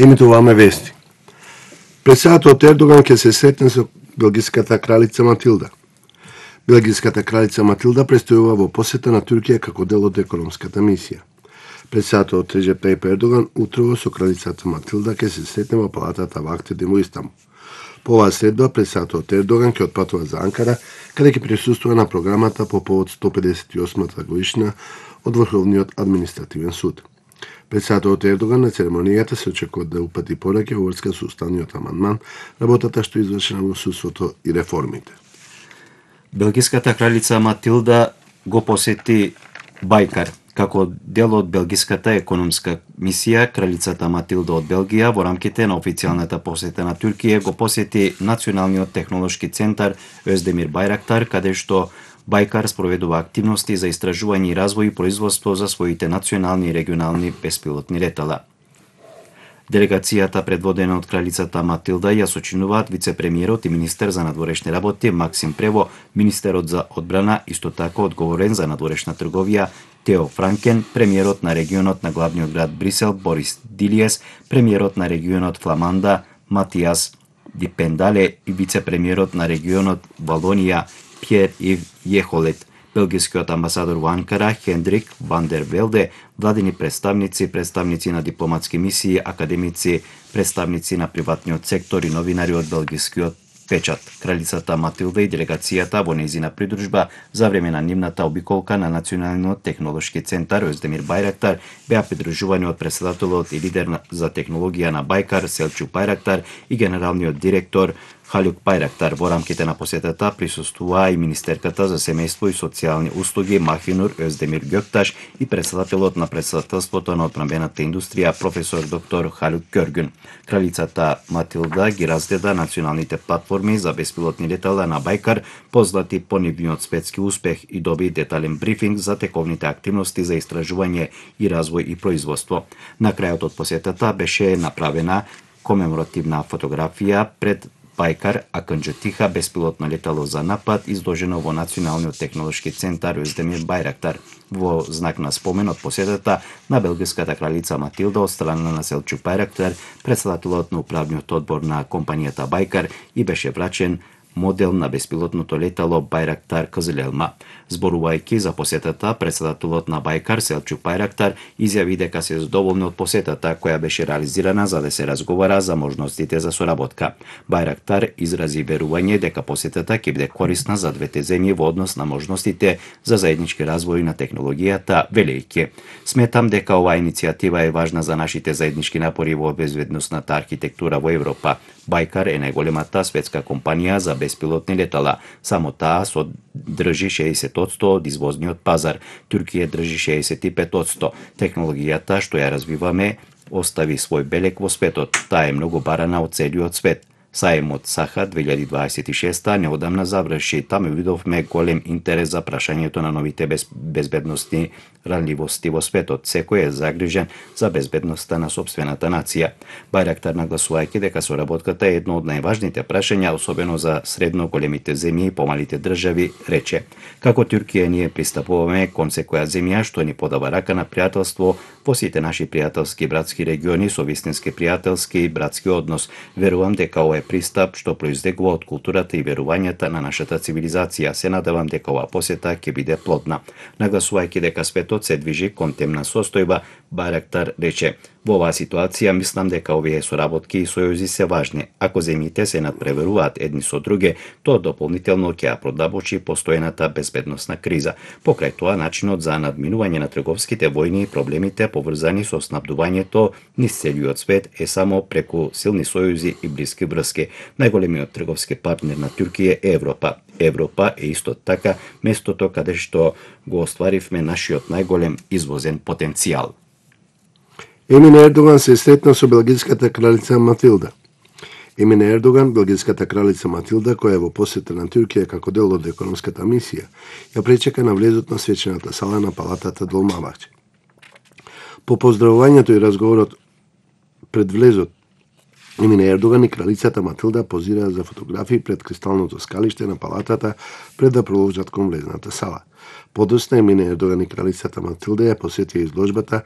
Емитуваме вести. Председателот Ердоган ќе се сретне со белгиската кралица Матилда. Белгиската кралица Матилда престојува во посета на Туркија како дел од економската мисија. Председателот Реджеп Тајип Ердоган утрово со кралицата Матилда ќе се сретне во палатата Вахтедин во Истанбул. По оваа следба председателот Ердоган ќе отпатува за Анкара, каде ќе присуствува на програмата по повод 158-та годишна од Врховниот административен суд. Председателот Ердоган на церемонијата се очекува да упати пораки во врска со уставниот амандман, работата што извршена во судството и реформите. Белгиската кралица Матилда го посети Бајкар. Како дел од белгиската економска мисија, кралицата Матилда од Белгија во рамките на официјалната посета на Туркија го посети Националниот технолошки центар Оздемир Бајрактар, каде што Бајкар спроведува активности за истражување и развој и производство за своите национални и регионални беспилотни летала. Делегацијата предводена од кралицата Матилда ја сочинуваат вице-премиерот и министер за надворешни работи Максим Прево, министерот за одбрана, исто така одговорен за надворешна трговија Тео Франкен, премиерот на регионот на главниот град Брисел Борис Дилиес, премиерот на регионот Фламанда Матиас Дипендале и вице-премиерот на регионот Валонија Пјер Ив Јехолет, белгискиот амбасадор во Анкара Хендрик Ван дер Велде, владени представници, представници на дипломатски мисии, академици, представници на приватниот сектор и новинари од белгискиот печат. Кралицата Матилда и делегацијата во нејзина придружба за време на нивната обиколка на Националниот технолошки центар Оздемир Бајрактар беа придружувани од председателот и лидер за технологија на Бајкар Селчук Бајрактар и генералниот директор Халюк Бајрактар. Во рамките на посетата присуствуваа и министерката за семејство и социјални услуги Махинур Оздемир Ѓокташ и председателот на председателството на одбранбената индустрија професор доктор Халюк Ѓоргун. Кралицата Матилда ги разгледа националните платформи за беспилотни летала на Бајкар, познати по нивниот светски успех, и доби детален брифинг за тековните активности за истражување и развој и производство. На крајот од посетата беше направена комеморативна фотографија пред Бајкар Аканџатиха беспилотно летало за напад, изложено во Националниот технолошки центар Оздемир Бајрактар. Во знак на спомен од посетата на белгиската кралица Матилда од страна на Селчук Бајрактар, председателот на управниот одбор на компанијата Бајкар, и беше врачен модел на беспилотното летало Бајрактар Кызылелма. Зборувајќи за посетата, председателот на Бајкар Селчук Бајрактар изјави дека се задоволни од посетата која беше реализирана за да се разговара за можностите за соработка. Бајрактар изрази верување дека посетата ќе биде корисна за двете земји во однос на можностите за заеднички развој на технологијата, велејќи: "Сметам дека оваа иницијатива е важна за нашите заеднички напори во безбедносната архитектура во Европа. Бајкар е најголемата светска компанија за беспилотни летала. Само таа држи 60% од извозниот пазар. Туркија држи 65%. Технологијата што ја развиваме остави свој белег во светот. Таа е многу барана од целиот свет. Саемот Саха 2026 неодамна заврши. Таму видовме голем интерес за прашањето на новите безбедносни ранливости во светот. Секој е загрижен за безбедноста на сопствената нација. Бајрактар нагласувајќи дека соработката е едно од најважните прашања, особено за средно големите земји и помалите држави, рече: "Како Туркија ние пристапуваме кон секоја земја што ни подава рака на пријателство во сите наши пријателски братски региони со вистински пријателски и братски однос. Верувам дека ова пристап што произлегува од културата и верувањата на нашата цивилизација. Се надевам дека оваа посета ќе биде плодна." Нагласувајќи дека светот се движи кон темна состојба, Бајрактар рече: "Во оваа ситуација мислам дека овие соработки и сојузи се важни. Ако земјите се надпреверуваат едни со други, тоа дополнително ќе ја продабочи постојаната безбедносна криза. Покрај тоа, начинот за надминување на трговските војни и проблемите поврзани со снабдувањето низ целиот свет е само преку силни сојузи и блиски врски. Најголемиот трговски партнер на Туркија е Европа. Европа е исто така местото каде што го остваривме нашиот најголем извозен потенцијал." Емин Ердоган се сретна со белгиската кралица Матилда. Емин Ердоган, белгиската кралица Матилда, која е во посета на Туркија како дел од економската мисија, ја пречека на влезот на свечената сала на палатата Долмабахче. По поздравувањето и разговорот пред влезот, Емин Ердоган и кралицата Матилда позираа за фотографии пред кристалното скалиште на палатата пред да продолжат кон влезната сала. Подоцна Емин Ердоган и кралицата Матилда ја посетија изложбата